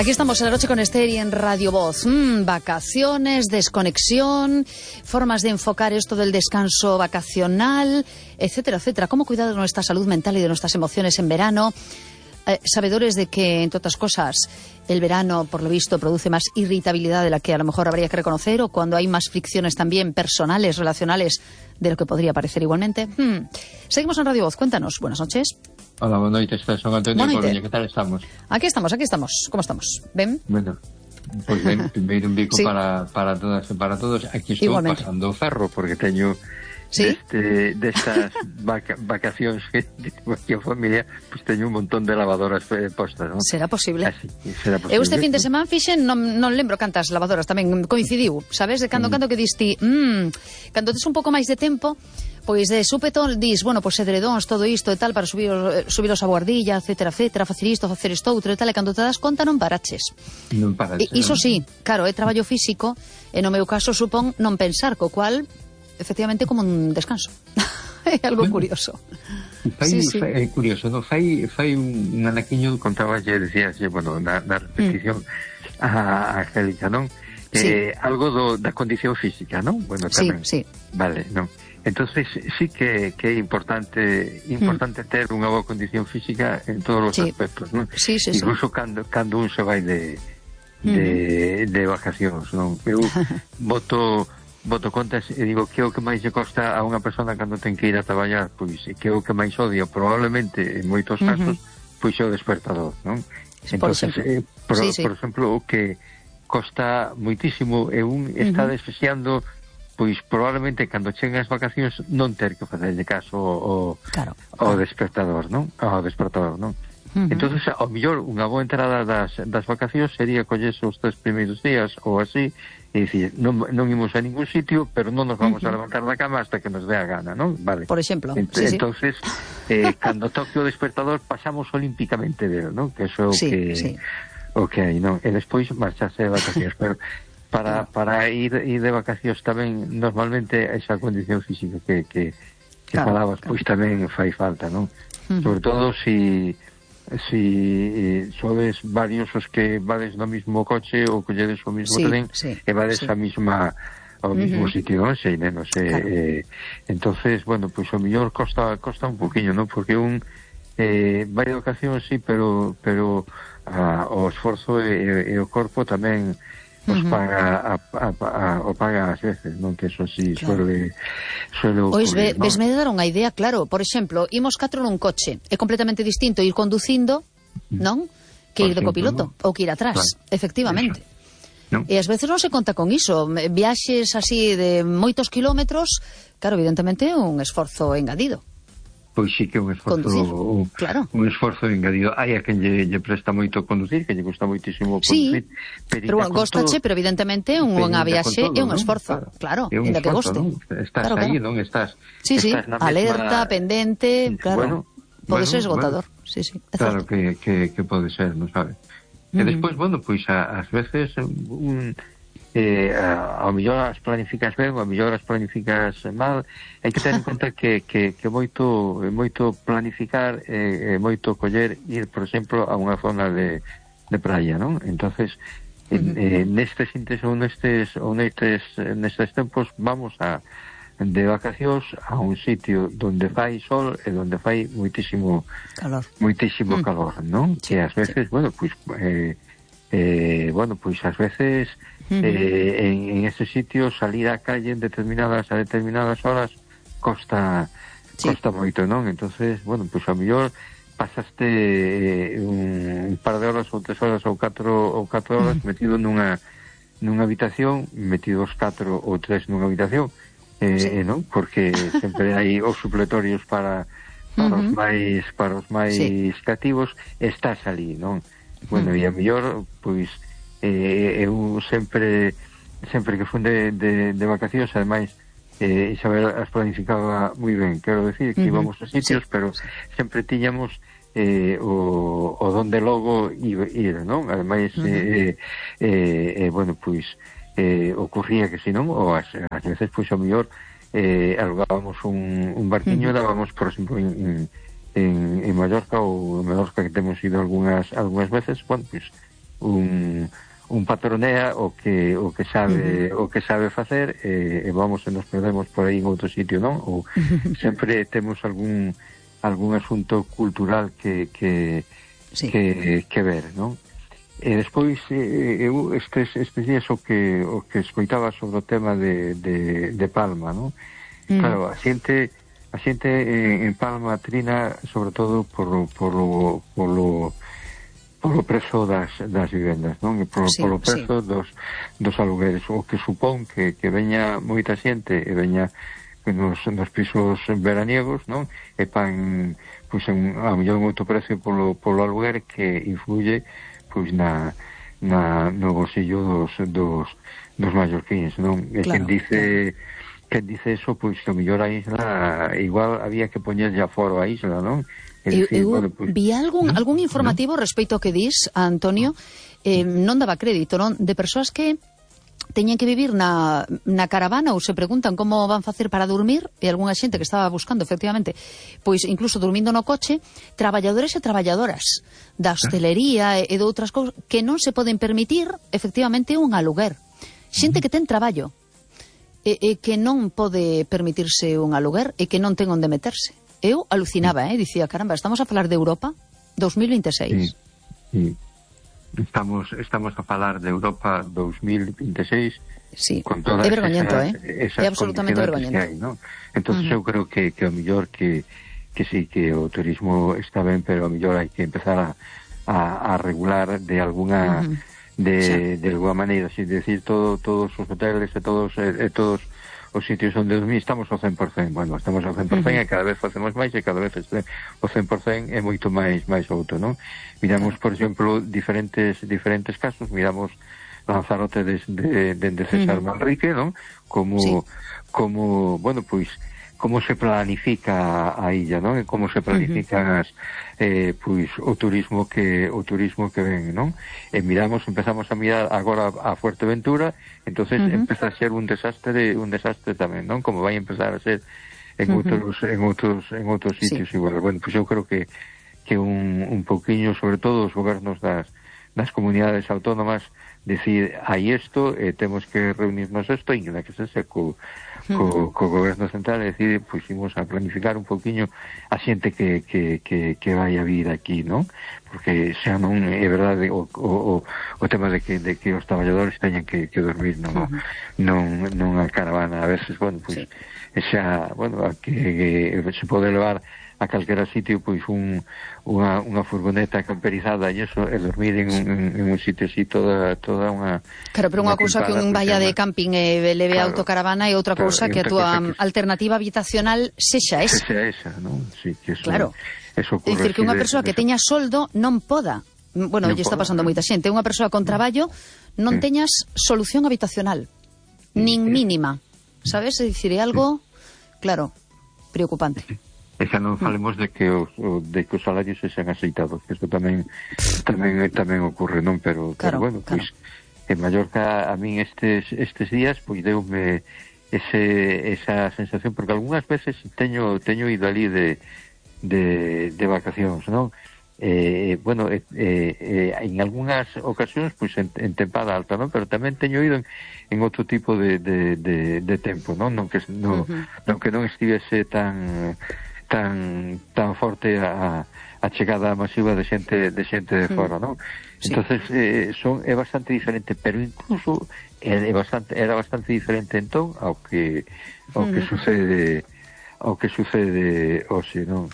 Aquí estamos en La Noche con Esther y en Radio Voz. Vacaciones, desconexión, formas de enfocar esto del descanso vacacional, etcétera, etcétera. Cómo cuidar de nuestra salud mental y de nuestras emociones en verano. Sabedores de que, entre otras cosas, el verano, por lo visto, produce más irritabilidad de la que a lo mejor habría que reconocer, o cuando hay más fricciones también personales, relacionales, de lo que podría parecer igualmente. Seguimos en Radio Voz. Cuéntanos. Buenas noches. Hola, boa noite, son Antonio Coruña, que tal estamos? Aquí estamos. Como estamos? Ben? Bueno, pois ben, primeiro un bico sí. para todas e para todos. Aquí estou igualmente pasando o ferro, porque teño ¿sí? destas vacacións que aquí a familia, pues teño un montón de lavadoras postas, non? Será posible. Así, será posible. Eu este fin de semana fixen, non lembro cantas lavadoras, tamén coincidiu, sabes, de cando que diste, cando tes un pouco máis de tempo, pois de súpeto dis, bueno, pois edredóns, todo isto e tal, para subiros a guardilla, etcétera, etcétera, facer isto, facer isto outro e tal, e cando te das conta non paraches. Non paraches. Iso sí, claro, é traballo físico, e no meu caso supón non pensar, co cual, efectivamente, como un descanso. É algo curioso. É curioso, non? Fai un anaquiño, contabas, decías, bueno, na repetición a Angélica, non? Algo da condición física, non? Bueno, tamén. Sí. Vale, non? Entonces sí que é importante ter unha boa condición física en todos os aspectos, non? Sí. Incluso cando un se vai de vacacións, non? Eu boto contas e digo que é o que máis lle costa a unha persona cando ten que ir a traballar, pois que é o que máis odia probablemente en moitos casos, pois é o despertador, non? Entonces, por exemplo, o que costa moitísimo é está desexando, pois probablemente cando cheguen as vacacións non ter que facerlle caso ao despertador, non? Ao despertador, non? Entonces, ao mellor, unha boa entrada das vacacións sería collerse os 3 primeiros días ou así, e dicir, non imos a ningún sitio, pero non nos vamos a levantar da cama hasta que nos dé a gana, non? Vale. Por exemplo. Entonces, cando toque o despertador, pasamos olímpicamente dele, non? Que eso o que hai, non? E despois marcharse de vacacións, pero para ir de vacacións tamén normalmente esa condición física que falabas, pois tamén fai falta, non? Sobre todo si sodes varios os que vades no mismo coche ou colledes o mismo tren e vades a mesma ao mismo sitio, non sei, menos entonces, bueno, pois o mellor costa un poquinho, non? Porque vai de ocasións, sí, pero o esforzo e o corpo tamén os paga ás veces, non? Que eso sí suele ocurrir, non? Vesme de dar unha idea, claro. Por exemplo, imos 4 nun coche, é completamente distinto ir conducindo, non? Que ir de copiloto, ou que ir atrás, efectivamente. E ás veces non se conta con iso. Viaxes así de moitos kilómetros, claro, evidentemente é un esforzo engadido. Pois sí que é un esforzo engadido. Hai a quen lle presta moito conducir, que lle gusta moitísimo conducir, pero gostache, pero evidentemente unha viaxe é un esforzo, claro, ainda que goste. Estás aí, non? Estás alerta, pendente, claro, pode ser esgotador. Claro que pode ser, non sabes? E despois, bueno, pois ás veces ao mellor as planificas ben, ao mellor as planificas mal. Hai que ter en conta que moito planificar e moito coller ir, por exemplo, a unha zona de praia, non? Entonces, nestes tempos vamos de vacacións a un sitio donde fai sol e donde fai moitísimo calor, non? Que ás veces, bueno, pois ás veces en ese sitio salir á calle a determinadas horas costa moito, non? Entonces, bueno, pois a mellor pasaste un par de horas ou 3 horas ou 4 horas metido nunha habitación, metidos 4 ou 3 nunha habitación, non? Porque sempre hai os supletorios para os máis cativos, estás ali, non? Bueno, e a mellor, pois eu sempre que fun de vacacións, ademais Isabel as planificaba moi ben, quero decir que íbamos a sitios, pero sempre tiñamos o donde logo ir, non? Ademais bueno, pois ocurría que si non, ou ás veces pois ao mellor alugábamos un barquiño e dábamos, por exemplo, en Mallorca ou en Mallorca, que temos ido algunhas veces, bueno, pois un patronea o que sabe facer, e vamos e nos perdemos por aí en outro sitio, non? Ou sempre temos algún asunto cultural que ver, non? E despois eu estes días o que escoitaba sobre o tema de Palma, non? Claro, a xente en Palma trina sobre todo polo prezo das vivendas, non? E polo prezo dos alugueres, o que supón que veña moita xente e veña nos pisos veraniegos, non? E pan, pois, a mellor un outro precio polo aluguer que influye, pois, no bolsillo dos mallorquíns, non? E claro, quen dice eso, pois, que a mellor a isla igual había que poñerlle aforo a isla, non? Eu vi algún informativo respecto ao que dis, Antonio, non daba crédito, non? De persoas que teñen que vivir na caravana ou se preguntan como van facer para dormir, e algunha xente que estaba buscando, efectivamente, pois incluso dormindo no coche, traballadores e traballadoras da hostelería e de outras cousas que non se poden permitir, efectivamente, un aluguer. Xente que ten traballo e que non pode permitirse un aluguer e que non ten onde meterse. Eu alucinaba, dicía, caramba, estamos a falar de Europa 2026. Sí. Estamos a falar de Europa 2026. Sí, con todas é vergoñento, esas é absolutamente vergoñento. Que hai, ¿no? Entonces eu creo que o mellor que sí, que o turismo está ben, pero o mellor hai que empezar a regular de alguna de alguna maneira, sin decir todos os hoteles e todos os sitios onde dormir estamos ao 100%. Bueno, estamos ao 100% e cada vez facemos máis e cada vez o 100% é moito máis alto, non? Miramos, por exemplo, diferentes casos, miramos Lanzarote dende César Manrique, non? Como, bueno, pois, como se planifica a illa, non? E como se planifican pois o turismo que ven, non? E empezamos a mirar agora a Fuerteventura, entonces empeza a ser un desastre tamén, non? Como vai empezar a ser en outros sitios igual. Bueno, pois eu creo que un pouquiño, sobre todo os gobernos das comunidades autónomas, decir, hai isto, temos que reunirnos isto, e que se co goberno central, é dicir, pois imos a planificar un pouquiño a xente que vai a vir aquí, non? Porque xa non é verdade o tema de que os traballadores teñan que dormir non a caravana, a veces, bueno, pois xa, bueno, que se pode levar a calquera sitio, pois unha furgoneta camperizada e eso, e dormir en un sitio así toda unha... Claro, pero unha cousa que un vaya de camping e leve autocaravana e outra cousa que a túa alternativa habitacional sexa esa. Sexa esa, non? Sí, que eso, claro. Eso ocurre. É dicir, que unha persoa que teña soldo non poda. Bueno, lle está pasando moita xente. Unha persoa con traballo non teñas solución habitacional. Nin mínima. Sabes? É dicir, é algo, claro, preocupante. E xa non falemos de que os salarios se sean aceitados, que isto tamén ocurre, non? Pero bueno, pois en Mallorca a min estes días pois deume esa sensación, porque algunhas veces teño ido ali de vacacións, non? Bueno, en algunhas ocasións pois en tempada alta, non? Pero tamén teño ido en outro tipo de tempo, non? Non que non estivese tan forte a chegada masiva de xente de fora, non? Entonces é bastante diferente, pero incluso era bastante diferente entón ao que sucede hoxe, non?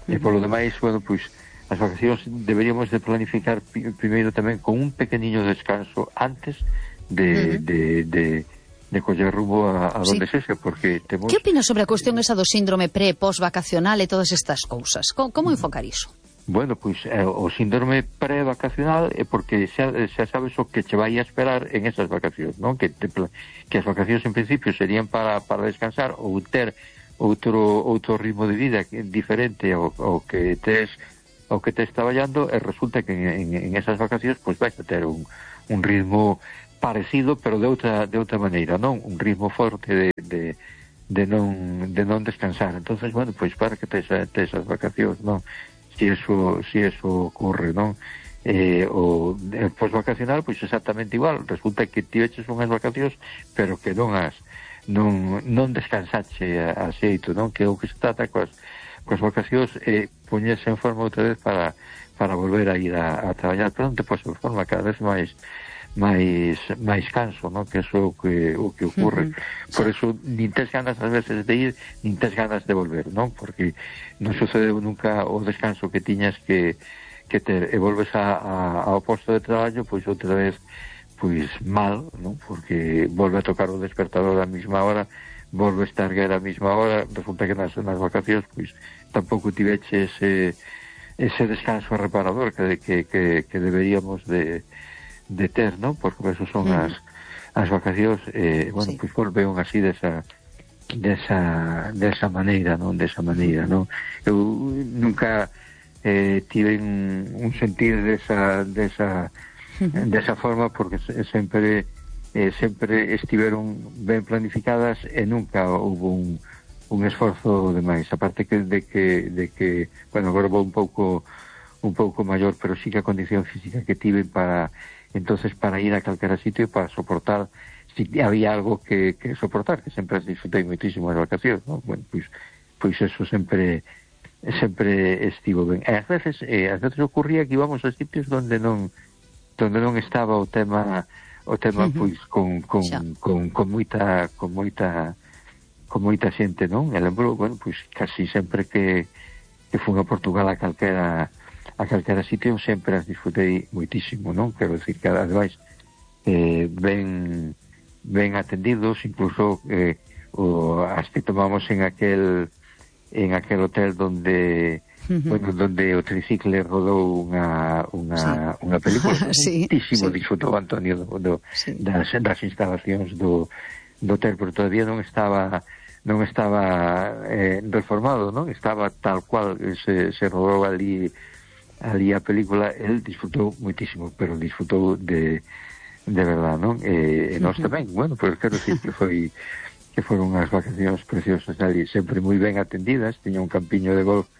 E polo demais, bueno, pois as vacacións deberíamos de planificar primeiro tamén con un pequeniño descanso antes de coller rumbo a donde sexa, porque temos... Que opinas sobre a cuestión esa do síndrome pre-post-vacacional e todas estas cousas? Como enfocar iso? Bueno, pois o síndrome pre-vacacional é porque xa sabes o que che vai a esperar en esas vacacións, non? Que as vacacións en principio serían para descansar ou ter outro ritmo de vida diferente ao que tes traballando, e resulta que en esas vacacións pois vais a ter un ritmo parecido, pero de outra maneira, non? Un ritmo forte de non descansar. Entonces, bueno, pois para que tes as vacacións, non? Si eso ocurre, non? o posvacacional, pois exactamente igual. Resulta que ti eches unhas vacacións, pero que non descansache a xeito, non? Que o que se trata coas vacacións é poñerse en forma outra vez para volver a ir a traballar, pero non te podes en forma cada vez máis canso, non? Que é o que ocurre. Por eso nin tes ganas ás veces de ir, nin tes ganas de volver, non? Porque non sucede nunca o descanso que tiñas que ter, e volves ao posto de traballo, pois outra vez pois mal, non? Porque volve a tocar o despertador a mesma hora, volve a estar a mesma hora, resulta que nas vacacións pois tampouco tiveche ese descanso reparador que deberíamos de ter, non? Porque eso son as vacacións, bueno, pois volveon así desa maneira, non? Desa maneira, non? Eu nunca tive un sentir desa forma, porque sempre estiveron ben planificadas e nunca houve un esforzo demais, aparte de que bueno, agora vou un pouco maior, pero sí que a condición física que tive para ir a calquera sitio, para soportar, si había algo que soportar, que sempre disfrutei moitísimo as vacacións, ¿no? Bueno, pois eso sempre estivo ben. E ás veces ocurría que íbamos a sitios donde non estaba o tema pois con moita xente, non? E lembro, bueno, pois casi sempre que fui a Portugal a calquera sitio sempre as disfrutei moitísimo, non? Quero dicir que ademais ben atendidos, incluso as que tomamos en aquel hotel donde donde o tricicle rodou unha película. Muitísimo disfrutou Antonio das instalacións do hotel, pero todavía non estaba reformado, non? Estaba tal cual se rodou ali a película. El disfrutou moitísimo, pero disfrutou de verdad, non? E nós tamén, bueno, pois quero dicir que foron unhas vacacións preciosas ali, sempre moi ben atendidas. Tiña un campiño de golf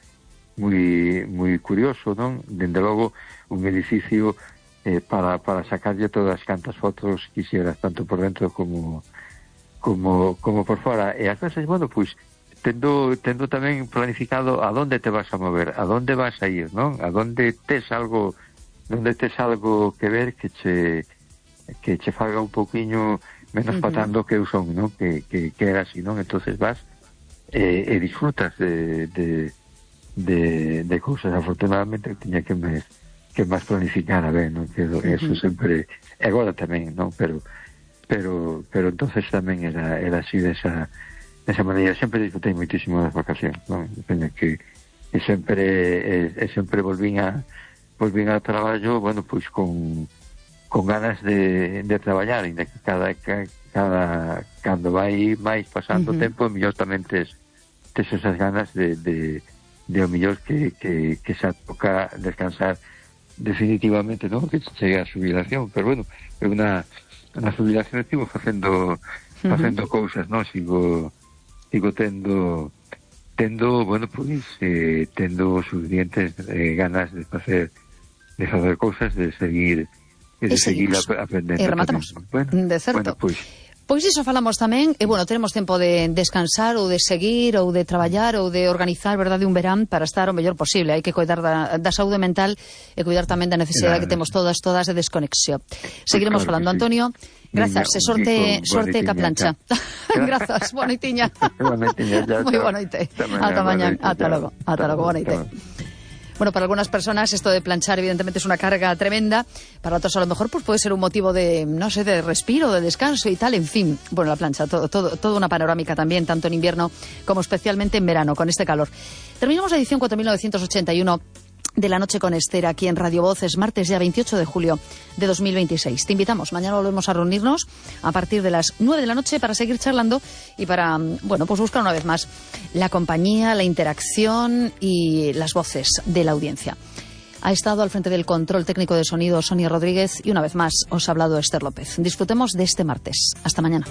moi curioso, non? Dende logo un edificio para sacarlle todas cantas fotos quixeras, tanto por dentro como por fora. E ás veces, bueno, pois tendo tamén planificado a donde te vas a mover, a donde vas a ir, non? A donde tes algo que ver que che faga un pouquiño menos patando que eu son, non? Que era así, non? Entonces vas e disfrutas de cousas. Afortunadamente tiña que máis planificar a ver, non? Que eso sempre, e agora tamén, non? Pero entonces tamén era así desa maneira. Sempre disfrutei moitísimo das vacacións, non? Depende que sempre volvín ao traballo, bueno, pois con ganas de traballar, e cando vai máis pasando o tempo, mellor tamén tes esas ganas de o mellor que xa toca descansar definitivamente, non? Que chegue a xubilación, pero bueno, é unha xubilación estivo facendo cousas, non? Sigo tendo, bueno, pois tendo suficientes ganas de facer cousas, de seguir aprendendo. E rematamos. Bueno, de certo. Bueno, Pois iso falamos tamén, e bueno, teremos tempo de descansar ou de seguir ou de traballar ou de organizar, verdade, un verán para estar o mellor posible. Hai que cuidar da saúde mental e cuidar tamén da necesidade que temos todas de desconexión. Seguiremos falando, Antonio. Grazas, e sorte ca plancha. Grazas, boa noitiña. Moi boa noite. Ata mañán, ata logo, boa noite. Bueno, para algunas personas esto de planchar evidentemente es una carga tremenda, para otros a lo mejor pues puede ser un motivo de, no sé, de respiro, de descanso y tal, en fin. Bueno, la plancha, todo una panorámica también, tanto en invierno como especialmente en verano, con este calor. Terminamos la edición 4981 de La Noche con Esther aquí en Radio Voz. Es martes ya 28 de julio de 2026. Te invitamos, mañana volvemos a reunirnos a partir de las 9 de la noche para seguir charlando y para, bueno, pues buscar una vez más la compañía, la interacción y las voces de la audiencia. Ha estado al frente del control técnico de sonido Sonia Rodríguez y una vez más os ha hablado Esther López. Disfrutemos de este martes. Hasta mañana.